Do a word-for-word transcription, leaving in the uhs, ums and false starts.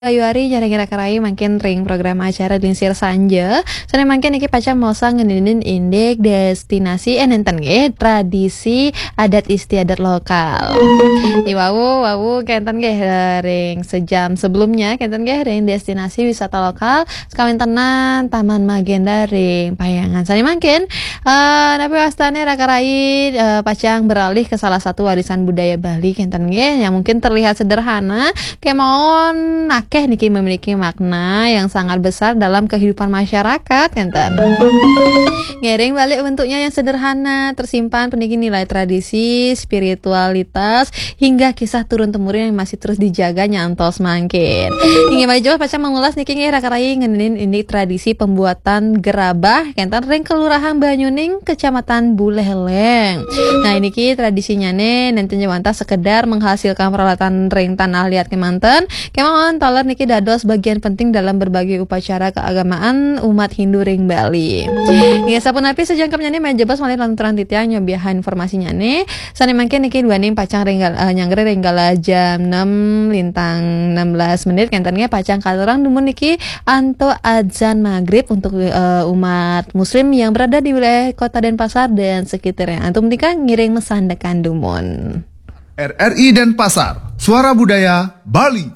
Ayu ari jarang kira-kirai mangkin ring program acara Lingsir Sanja. Sane mangkin niki pacang maosang ngeninin indik destinasi, eh, nenten nggih, tradisi adat istiadat lokal. Iwau, wau kenten nggih, eh, ring sejam sebelumnya kenten nggih ring destinasi wisata lokal sakawentenan Taman Magenda ring Payangan. Sane mangkin, eh, napi wastane raka rai, eh, pacang beralih ke salah satu warisan budaya Bali kenten nggih, yang mungkin terlihat sederhana, kemawon akeh niki memiliki makna yang sangat besar dalam kehidupan masyarakat kenten. Ngiring balik bentuknya yang sederhana, tersimpan puniki nilai tradisi, spiritualitas, hingga kisah turun temurun yang masih terus dijaga nyantos mangkin. Inggih malih jebos pacang mengulas niki nggih raka rai ngeninin ini tradisi pembuatan gerabah kenten ring Kelurahan Banyuning, Kecamatan Buleleng. Nah, ini ki tradisinya nih nenten wantah sekedar menghasilkan peralatan ring tanah liat kemanten, kemawon taler niki dados bagian penting dalam berbagai upacara keagamaan umat Hindu ring Bali. Ya, sapunapi sejangkepnya nih malih jebos malih lanturang titiang nyobiahan informasinya nih. Sane mangkin niki duaning pacang ringgal, eh, nyanggra ring kala jam enam lintang enam belas menit kenten nggih pacang katurang dumun niki antuk adzan maghrib untuk, eh, umat muslim yang berada di wilayah Kota Denpasar dan sekitarnya. Antum nika ngiring masandekan dumun. R R I Denpasar, Suara Budaya Bali.